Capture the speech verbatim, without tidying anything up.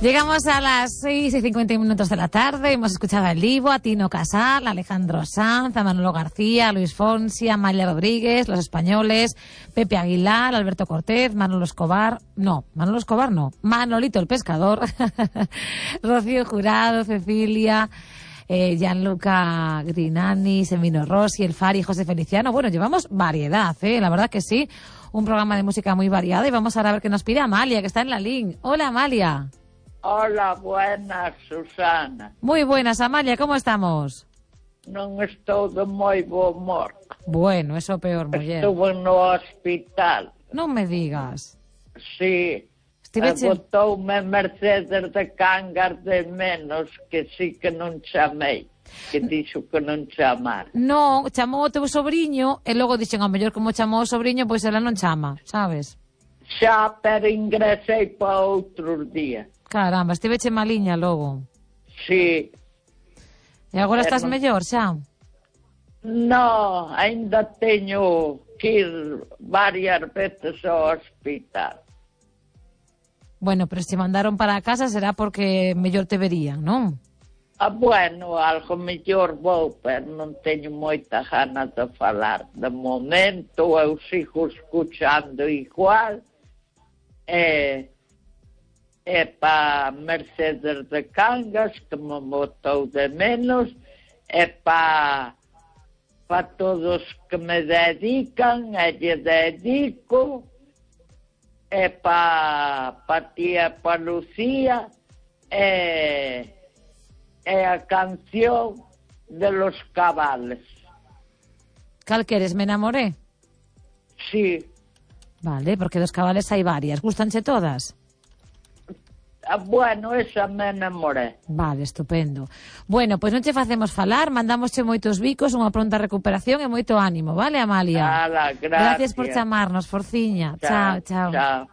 Llegamos a las seis y cincuenta minutos de la tarde. Hemos escuchado a El Ivo, a Tino Casal, a Alejandro Sanz, a Manolo García, a Luis Fonsi, a Amalia Rodríguez, Los Españoles, Pepe Aguilar, Alberto Cortés, Manolo Escobar. No, Manolo Escobar no. Manolito el Pescador. Rocío Jurado, Cecilia, eh, Gianluca Grinani, Semino Rossi, El Fari, José Feliciano. Bueno, llevamos variedad, ¿eh? La verdad que sí. Un programa de música muy variada. Y vamos ahora a ver qué nos pide Amalia, que está en la línea. Hola, Amalia. Hola, buenas, Susana. Muy buenas, Amalia, ¿cómo estamos? Non estou de moi bo humor. Bueno, eso peor, muller. Estuve no hospital. Non me digas. Sí. Estiveche... Botoume Mercedes de Cangas de menos, que sí que non chamei. Que dixo que non chamar. Non, chamou o teu sobrinho, e logo dixen, ao mellor como chamou o sobrinho, pois ela non chama, sabes? Xa, pero ingresei para outros días. Caramba, estiveche maliña logo. Sí. E agora Pero... estás mellor, xa? No, ainda teño que ir varias veces ao hospital. Bueno, pero se mandaron para casa será porque mellor te verían, non? Ah, bueno, algo mellor vou, pero non teño moita ganas de falar. De momento eu sigo escuchando igual. E... é para Mercedes de Cangas, que me botou de menos, é para pa todos que me dedican, e lle dedico, é para pa tía, para Lucía, é, é a canción de los cabales. Cal queres, me enamoré? Sí. Vale, porque dos cabales hai varias. Gústanche todas? Bueno, esa me enamoré. Vale, estupendo. Bueno, pois non che facemos falar, mandamosche moitos bicos, unha pronta recuperación e moito ánimo, vale, Amalia? Ala, gracias. Gracias por chamarnos, forciña. Chao, chao. Chao.